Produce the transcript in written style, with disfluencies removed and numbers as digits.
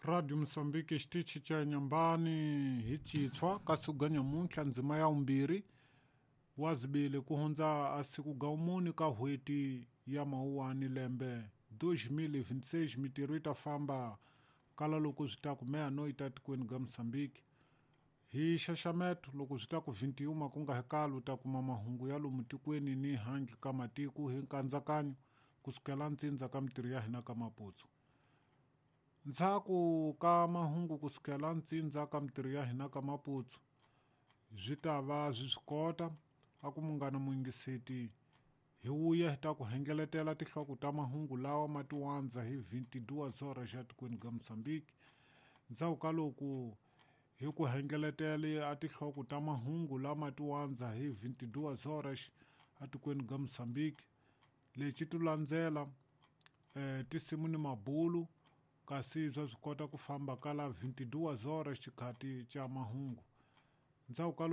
Radio Mosambiki xitichi xa Nyambani hi Tshitshwa kasi ku nyamuntlha ndzima ya vumbirhi wa zibili ku hundza a siku ga mune ka n'hweti ya Mawuwani lembe 2026 mitirho yi ta famba kala loko swi ta ku meya-noyi ta tikweni ga Mosambiki hi xaxameto loko swi ta ku 21 ku nga hekalo u ta kuma mahungu ya lomu tikweni ni handle ka matiko hi nkandzakanyo kusukela ntsindza ka mitirho ya hina ka Maputo. Ndzhaku ka mahungu kusukela ntsindza ka mitirho ya hina ka Maputo swi ta va swi swi kota a ku munghana muyingiseti hi wuya hi ta ku hengeletela tinhloko ta mahungu lawa ma tiwandza hi 22 horas xa tikweni ga Mosambiki. Ndzhaku ka loko hi ku hengeletele a tinhloko ta mahungu lama tiwandza hi 22 horas atikweni ga Mosambiki lexi ti landzela tinsimu ni mabulu kasi swa swi kota ku famba kala 22 horas xikhati xa mahungu. Ndzhaku ka loko.